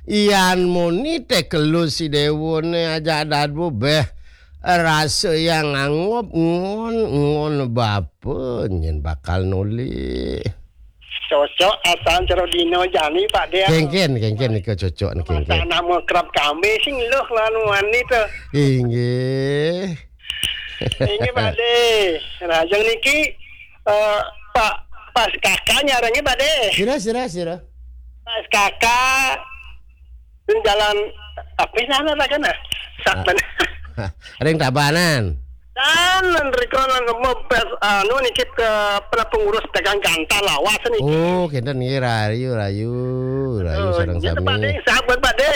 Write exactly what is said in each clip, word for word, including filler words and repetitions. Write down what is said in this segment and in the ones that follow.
Ian muni tekelu si Dewone ajak dadu beh. Rasa yang anggop ngon, ngon bapa nyen bakal nolih. Cocok asan cara dina jani, Pak De. Kengken, kengken nika cocok nika, kengken. Masa anak mau kerap kami sing luh lawan wani tu. Inggih. Inggih, Pak De. Nah, jeng niki, eh, Pak, Pak Kaka nyarengnya, Pak De. Sira, sira, sira. Pak Kaka, jalan apa sana, Pak, kan? Ah. Ring Tabanan. Dan riko nang mempes, anu, niki ke pernah pengurus dagang ganta lawas niki. Oh, kenten nggih, rayu, rayu, rayu. Oh, sareng sami. Pak De, sahabat Pak De.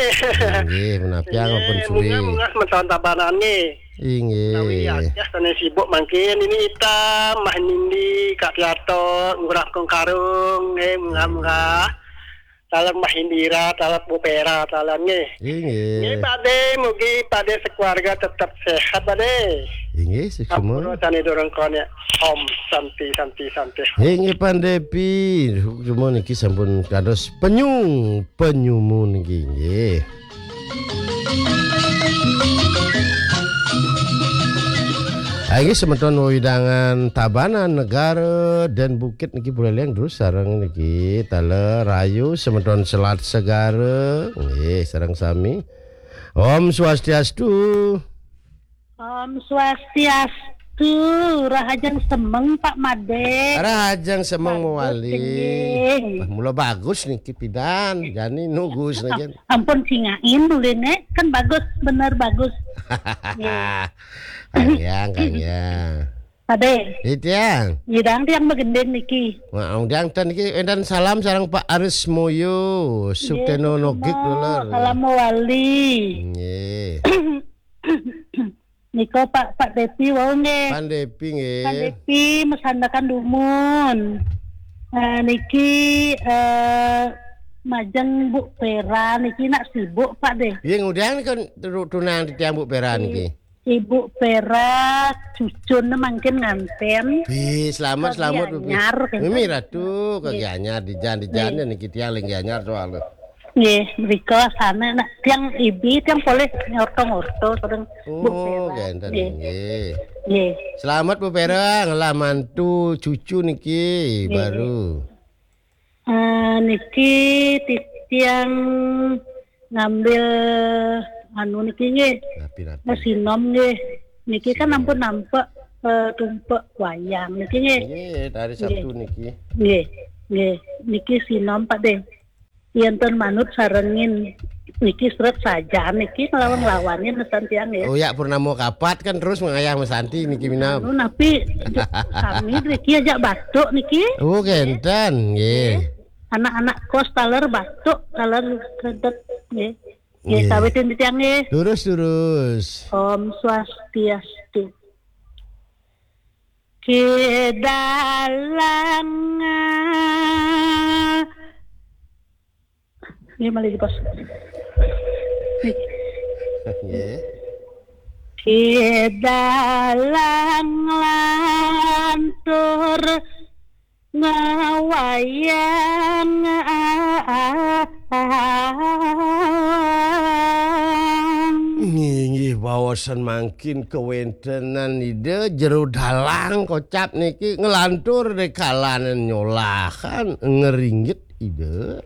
Nggih, menapi. Nggih, ampun suwi. Munggah, munggah, menton Tabanan nggih. Inggih. Tawi ya, ya, sana sibuk mangkin. Ini Ita, Mah Nindi, Kak Piato, Ngurah Kong Karung, nggih, munggah, munggah. Taler Mah Indira, taler Bu Pera, taler nggih. Inggih. Nggih, Pak De, mugi Pak De sekeluarga tetap sehat, Pak De. Inggih, suksma. Ampun, sane durung kon ya. Om Santi, Santi, Santi. Inggih, Pandepi. Suksma niki sampun kados penyu, penyumu niki, nggih. Inggih, semeton wewidangan Tabanan Negara dan Bukit niki Buleleng terus sareng niki taler rayu semeton Selat Segara nggih sareng sami. Om Swastiastu. Om Swastiastu, rahajeng semeng Pak Made. Rahajeng semeng. Bagus, mawali. Nggih. Wah, mula bagus niki pidan, jani nugus niki. Ampun singain dulu nek, kan bagus, bener bagus. Nggih. Kang Yang, Kang Yang. Ade. Itiang. Nyidang tiang begending niki. Wah, undang ten niki enten salam sareng Pak Aris Moyo, Sukteno Nogik dulur. Salam mawali. Nggih. Nika Pak, Pak Depi wau nggih. Pan Depi nggih. Pan Depi mesandakan dumun. Eh, niki, eh, majeng Bu Pera niki nak sibuk Pak deh. Nggih, ngudian kan tunang titiang Bu Pera niki. Ibu Pera cucun mangkin nganten. Bi, selamat, selamat, Bu Pi. Gianyar, gitu. Mimi Ratu, ke Gianyar, di jan, di jan, niki tiang ling Gianyar soalnya. Nggih, mriko sana nak tiang ibi, tiang polih ngorto-ngorto sareng Bu Pera. Oh, genten nggih. Nggih. Selamat Bu Pera, ngelah mantu cucu niki baru. Eh, niki titiang ngambil anu niki nggih. Napi, napi? Sinom nggih. Niki kan ampun nampek, eh, tumpek wayang niki nggih. Nggih, hari Sabtu niki. Nggih, nggih. Niki sinom Pak deh. Yen ten manut sarengin niki seret saja niki ngelawan-ngelawanin mesan tiang ya. Oh ya, purnama kapat kan terus mengayah mesanti niki minam. Anu napi kami niki ajak batuk niki. Oh, genten nggih. Anak-anak kos taler batuk, taler kedet nggih. Nggih, nggih. Sawitin tiang nggih. Terus, terus. Om Swastiastu. Kidalang. Ini malah di pos. Nggih. Kidalang lantur ngawayang. Nggih, nggih, baosan mangkin kewentenan Ida jero dalang kocap niki nglantur di kalanan nyolahan ngeringgit Ida.